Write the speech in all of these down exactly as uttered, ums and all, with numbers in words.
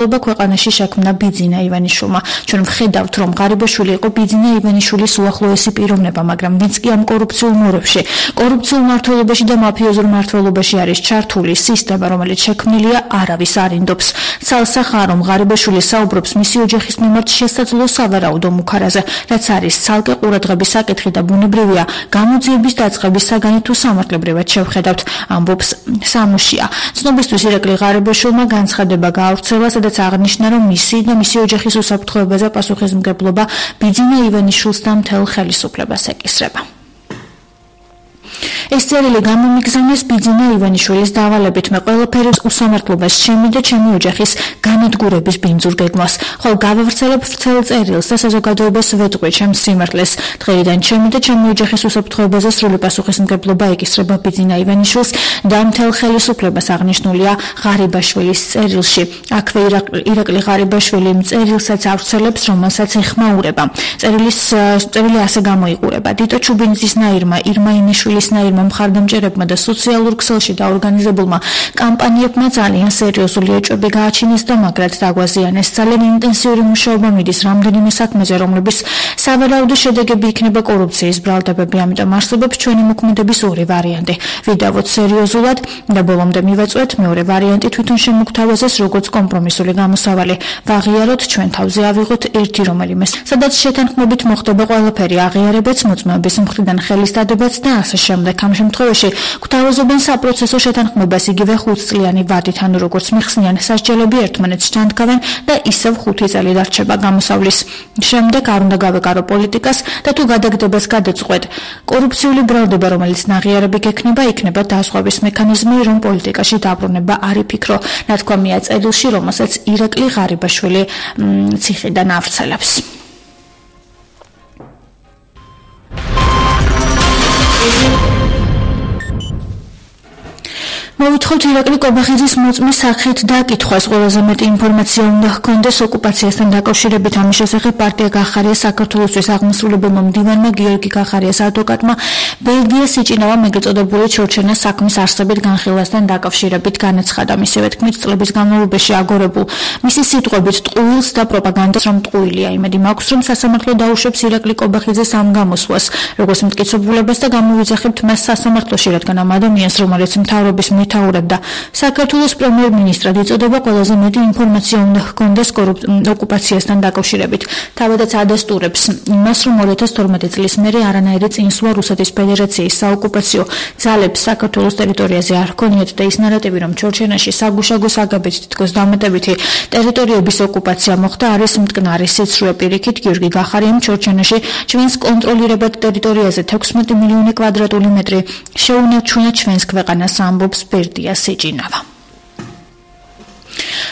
ქვეყანაში შექმნა ბიძინა ივანიშვილმა. ჩვენ ვხედავთ, რომ ღარიბაშვილი იყო ბიძინა ივანიშვილის უახლოესი პიროვნება, მაგრამ ვინც კი ამ კორუფციულ მორევში, კორუფციულ მმართველობაში და მაფიოზურ მმართველობაში არის ჩართული სისტემა, რომელიც შექმნილია, არავის არ ინდობს. ცალსახაა, რომ ღარიბაშვილი საუბრობს მისი ოჯახის მიმართ შესაძლო სავარაუდო მუქარაზე, რაც არის ცალკე ყურადღების საკითხი და ბუნებრივია გამოძიების დაწყების საგანი თუ სამართლებრივად შევხედავთ, ამბობს სამუშია. ცნობისთვის ირაკლი ღარიბაშვილმა განცხადება გაავრცელა, სადაც აღნიშნა, რომ მისი და მისი ოჯახის უსაფრთხოებაზე პასუხისმგებლობა ბიძინა ივანიშვილს და მთელ ხელისუფლებას ეკისრება. ეს წერილი გამომიგზავნეს ბიძინა ივანიშვილის დავალებით. მე ყველაფერი უსამართლობას ჩემი და ჩემი ოჯახის განადგურების ბინძურ გეგმას. ხოლო გავავრცელებ ვრცელ წერილს და საზოგადოებას ვეტყვი ჩემს სიმართლეს. დღეიდან ჩემი და ჩემი ოჯახის უსაფრთხოებაზე სრული პასუხისმგებლობა ეკისრება ბიძინა ივანიშვილს და მთელ ხელისუფლებას, აღნიშნულია ღარიბაშვილის წერილში. აქვე ირაკლი ღარიბაშვილი იმ წერილსაც ავრცელებს, რომელსაც ეხმაურება. წერილის წერილი ასე გამოიყურება: დიტო ჩუბინძისნაირმა, ირმა ინიშვილისნაირმა მხარდამჭერებმა და სოციალურ ქსელში დაორგანიზებულმა კამპანიებმა ძალიან სერიოზული ეჭვები გააჩინეს და მაგრად დაგვაზიანეს. ძალიან ინტენსიური მუშაობა მიდის რამდენიმე საქმეზე, რომლების სავარაუდო შედეგები იქნება კორუფციის ბრალდებები. ამიტომ არსებობს ჩვენი მოქმედების ორი ვარიანტი: ვიდავოთ სერიოზულად და ბოლომდე მივაწვეთ, მეორე ვარიანტი თვითონ შემოგთავაზეს როგორც კომპრომისული გამოსავალი. ვაღიაროთ, ჩვენ თავზე ავიღოთ ერთი რომელიმეს, სადაც შეთანხმებით მოხდება ყველაფერი, აღიარებაც, მოწმეების მხრიდან ხელის დადებაც და ასე შემდეგ. ამ შემთხვევაში გვთავაზობენ საპროცესო შეთანხმებას იგივე ხუთწლიანი ვადით, ანუ როგორც მიხსნიან, სასჯელები ერთმანეთს ჩანდგავენ და ისევ ხუთი წელი დარჩება გამოსავლის. შემდეგ არ უნდა გავეკარო პოლიტიკას და თუ გადაგდებას გადაწყვეტ კორუფციული ბრალდება, რომელიც ნაღიარები გექნება, იქნება დაზღვევის მექანიზმი, რომ პოლიტიკაში დაბრუნება არ იფიქრო. ნათქვამია წერილში, რომელსაც ირაკლი ღარიბაშვილი ციხიდან ავრცელებს. მოვითხოვთ ირაკლი კობახიძის მოწმის სახით დაკითხვას. ყველაზე მეტი ინფორმაცია უნდა ჰქონდეს ოკუპაციასთან დაკავშირებით. ამის შესახებ პარტია გახარია საქართველოსთვის აღმასრულებელმა მდივანმა გიორგი გახარიას ადვოკატმა ბელგიას იჭინავა მეგეწოდებული ჩორჩენას საქმის არსებით განხილვასთან დაკავშირებით განაცხადა. მისივე თქმით, წლების განმავლობაში აგორებულ მისი სიტყვებით ტყუილს და პროპაგანდას რომ ტყუილია. იმედი მაქვს, რომ სასამართლო დაუშვებს ირაკლი კობახიძეს ამ გამოსვლას, როგორც მტკიცებულებას და გამოვიძახებთ მას სასამართლოში, რადგან ამ ადამიანს, რომელიც მთავრობის მეთაურად და საქართველოს პრემიერ-მინისტრად იწოდება, ყველაზე მეტი ინფორმაცია უნდა ჰქონდეს ოკუპაციასთან დაკავშირებით. თავადაც ადასტურებს იმას, რომ ორი ათას თორმეტი წლის მერე არანაირი წინსვლა რუსეთის ფედერაციის საოკუპაციო ძალებს საქართველოს ტერიტორიაზე არ ჰქონიათ და ის ნარატივი, რომ ჩორჩენაში საგუშაგო საგაბით თითქოს დამატებითი ტერიტორიების ოკუპაცია მოხდა, არის მტკნარი სიცრუე. პირიქით, გიორგი გახარიამ ჩორჩენაში ჩვენს კონტროლირებად ტერიტორიაზე თექვსმეტი მილიონი კვადრატული მეტრი შეუნარჩუნა ჩვენს ქვეყანას, ამბობს ბერდია სიჭინავა.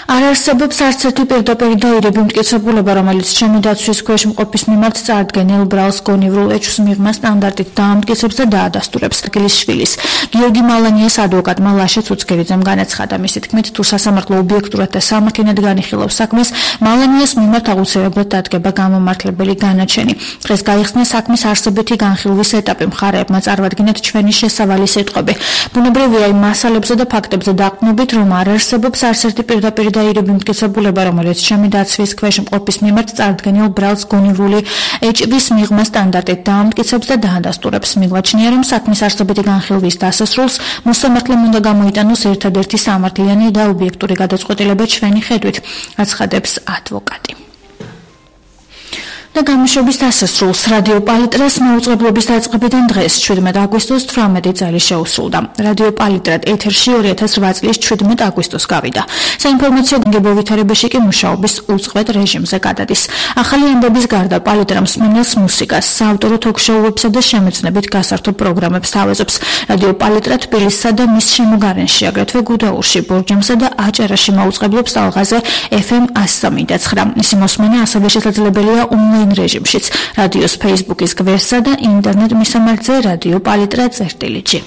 არ არსებობს არც ერთი პირდაპირ დაირები მტკიცებულება, რომელიც ჩემი დაცვის ქვეშ მყოფის მიმართ წარდგენილ ბრალს გონივრულ ეჭვს მიღმა სტანდარტით დაამტკიცებს და დაადასტურებს. გილისშვილის გიორგი მალანიას ადვოკატმა ლაშა ცუცქელიძემ განაცხადა. მისი თქმით, თუ სასამართლო ობიექტურად და სამართლიანად განიხილავს საქმეს, მალანიას მიმართ აუცილებლად დადგება გამომართლებელი განაჩენი. დღეს გაიხსნა საქმის არსებითი განხილვის ეტაპი. მხარეებმა წარვადგინათ ჩვენი შესავალი სიტყვები. ბუნებრივია იმ მასალებზე და ფაქტებზე დაყრდნობით, რომ არ არსებობს არც ერთი პირდაპირ დაირები მტკიცებულება, რომელიც ჩემი დაცვის ქვეშ მყოფის მიმართ წარდგენილ ბრალს გონივრული ეჭვის მიღმა სტანდარტით დაამტკიცებს და დაადასტურებს. მიგვაჩნია, რომ საქმის არსებითი განხილვის დასასრულს მოსამართლემ უნდა გამოიტანოს ერთადერთი სამართლიანი და ობიექტური გადაწყვეტილება ჩვენი ხედვით, აცხადებს ადვოკატი. და გამოშვების დასასრულს რადიო პალიტრას მოუწყებლობის დაწყებიდან დღეს შვიდმეტი აგვისტოს თვრამეტი წელი შეუსრულდა. რადიო პალიტრად ეთერში ორი ათას რვა წლის შვიდმეტი აგვისტოს გავიდა. საინფორმაციო გენგებოვითარებაში კი მუშაობის უწყვეტ რეჟიმზე გადადის. ახალი ამბების გარდა პალიტრა მსმენელს მუსიკას, საავტორო თოქ-შოუებსა და შემეცნებით გასართობ პროგრამებს თავაზობს. რადიო პალიტრა თბილისსა და მის შემოგარენში, აგრეთვე გუდაურში, ბორჯომსა და აჭარაში მოუწყებლობს ალღაზე ეფ ემ εκατო სამი და ცხრა. მისი მოსმენა ასევე შესაძლებელია ონლაინ რეჟიმშიც, რადიოს ფეისბუქის გვერდსა და ინტერნეტ მისამართზე რადიო პალიტრა წერტილი ჯი.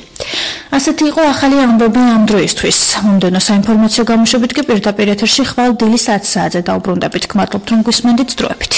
ასეთი იყო ახალი ამბები ამ დროისთვის. მომდევნო საინფორმაციო გამოშვებით კი პირდაპირ ეთერში ხვალ დილის ათი საათზე დავბრუნდებით. გმადლობთ, რომ გვისმენდით დროებით.